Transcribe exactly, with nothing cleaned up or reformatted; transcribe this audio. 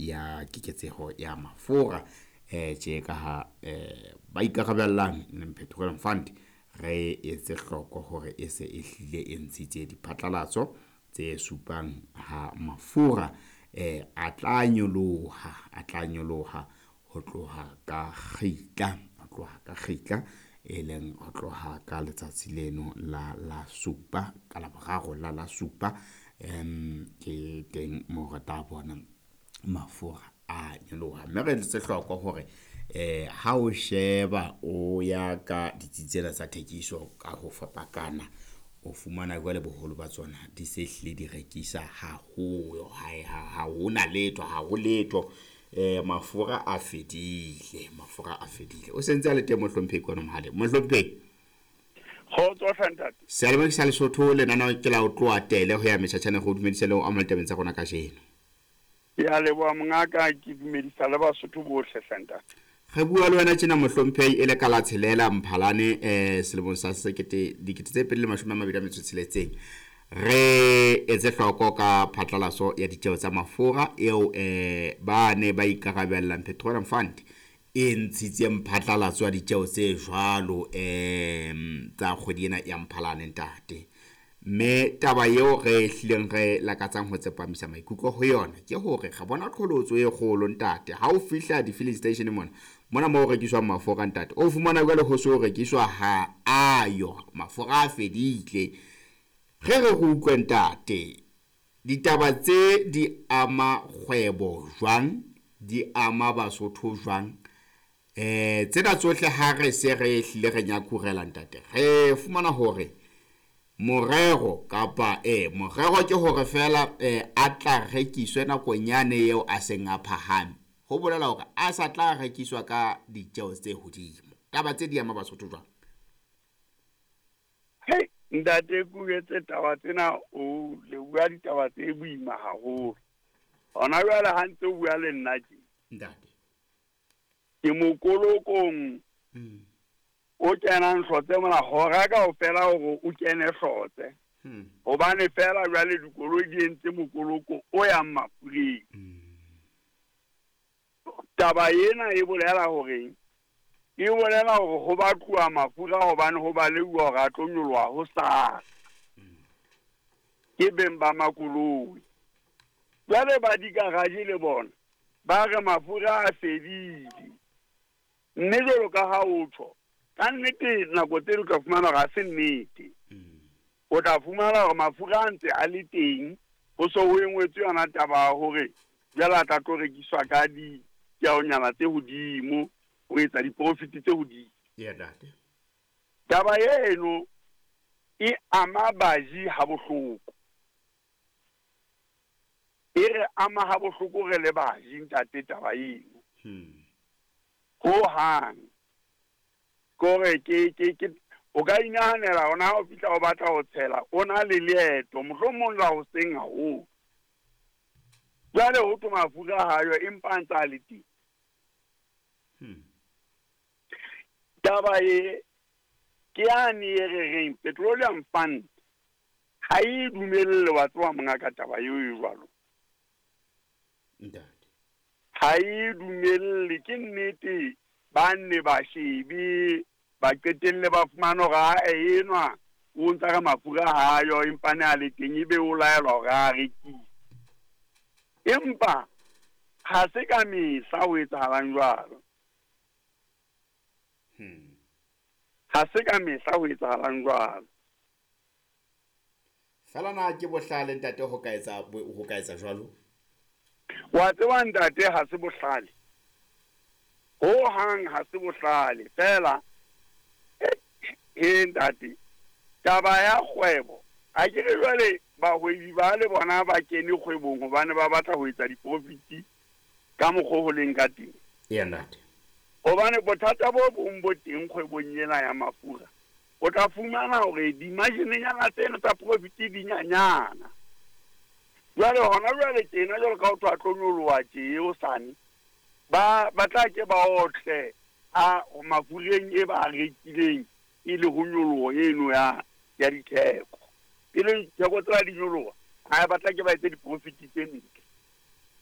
ya keketseho ya mafura eh tje ka ha eh ba ikarabellang Petroleum Fund re etse hloko hore e se e hlile e ntshitse diphatlalatso tse supang ha mafura eh a tla nyoloha a tla nyoloha ho tloha ka kgitla ho tloha ka kgitla e leng ho tloha ka letsatsi leno la la supa ka Laboraro la la supa em ke teng moo re tla bona mafura a nyoloha mme re etse hloko hore eh ha o sheba o ya ka ditsi tsena tsa thekiso ka ho fapakana o fumana jwale boholo ba tsona di se hlile di rekisa haholo ha ha hona letho ha ho letho eh mafura a fedile mafura a fedile o sentse a le teng mohlomphehi kwana mohaleng mohlomphehi Kgotso hle ntate. Seyalemoya sa Lesotho lenaneo ke la ho tloha tele ho ya metjhatjhane go dumedisa le ho amohela tabeng tsa rona kajeno. Ke a leboha mongaka, ke dumedisa le Basotho bohle hle ntate. Re bua le wena tjena mohlomphehi e le ka la tshelela Mphalane eh selemong sa sekete dikete tse pedi le mashome a mabedi a metso e tsheletseng. Re etse hloko ka phatlalaso ya ditjeho tsa mafura eo eh ba ne ba ikarabellang Petroleum Fund e ntshitseng phatlalatso ya ditjeho tse jwalo em tsa kgwedi ena ya Mphalane ntate. Mme taba eo re hlileng re lakatsang ho tsepamisa maikutlo ho yona ke hore re bona qholotso e kgolo ntate. Ha o fihla di-filling station mona mona moo ho rekiswang mafura ntate, o fumana jwale ho so rekiswa ha ayo mafura a fedile. Re re re utlwe ntate, ditaba tse di ama kgwebo jwang, di ama Basotho jwang? Eh tsena tsohle ha re se re hlile re nyakurela ntate, re fumana hore morero kapa eh morero ke hore fela eh a tla rekiswe nakong yane eo a seng a phahame. Ho bolela hore a sa tla rekiswa ka ditjeho tse hodimo. Taba tse di ama Basotho jwang? Hei ntate, ke o etse taba tsena o le bua ditaba tse boima haholo. Hona jwale ha ntse o bua le nna tje. Ntate. Ke mokolokong Mm. o kenang Hlotse mona hora kaofela hore o kene Hlotse. Hmm. Hobane fela jwale dikoloi di entse mokoloko o yang mafureng. Mm. Taba ena e bolela hore e bolela hore ho batluwa mafura hobane ho baleuwa hore a tlo nyoloha hosasa. Ke beng ba makoloi. Jwale ba di-garage le bona ba re mafura a fedile. Mme jwalo ka ha o tjho, ka nnete nako tse ding o tla fumana hore ha se nnete. Mm. O tla fumana hore mafura a ntse a le teng, ho so ho engwetswe yona taba ya hore jwale a tla tlo rekiswa ka ditjeonyana tse hodimo, ho etsa di-profit tse hodimo. Yeah, ntate. Taba eno e ama baji ha bohloko. E re ama ha bohloko re le baji ntate taba eno. Hmm. Ho hang. Kore ke ke ke o ka inahanela ona ha o fihla o batla ho tshela, o na le leeto, mohlomong la hoseng haholo. Jwale ho thwe mafura ha yo empa a ntse a le teng. Hmm. Taba e ke yane e re reng Petroleum Fund ha e dumelle wa tseba mongaka taba eo e jwalo. Ntate. Ha e dumelle, ke nnete ba nne ba shebe ba qetelle ba fumana hore ha enwa o ntsa re mafura ha yo empa ne a le teng ebe o laelwa hore a rekise. Empa ha se ka mehla ho etsahalang jwalo. Hmm. Ha se ka mehla ho etsahalang jwalo. Fela na ke bohlale ntate ho ka etsa ho ka etsa jwalo? Wa tseba ntate ha se bohlale. Ho hang ha se bohlale fela eh ntate taba ya kgwebo a ke re jwale bahwebi ba le bona ba kene kgwebong hobane ba batla ho etsa di-profit ka mokgwa ho leng ka teng. Yeah, ntate. Hobane bothata bo bong bo teng kgwebong ena ya mafura, o tla fumana hore di-margin-nyana tseno tsa profit di nyanyana. Jwale hona jwale tjena jwalo ka ho thwe a tlo nyoloha tje hosane, ba ba tla ke ba otle a mafureng e ba rekileng e le ho nyoloha eno ya ya ditheko. E leng ditheko tsena di nyoloha, ha ba tla ke ba etse di-profit tse ntle.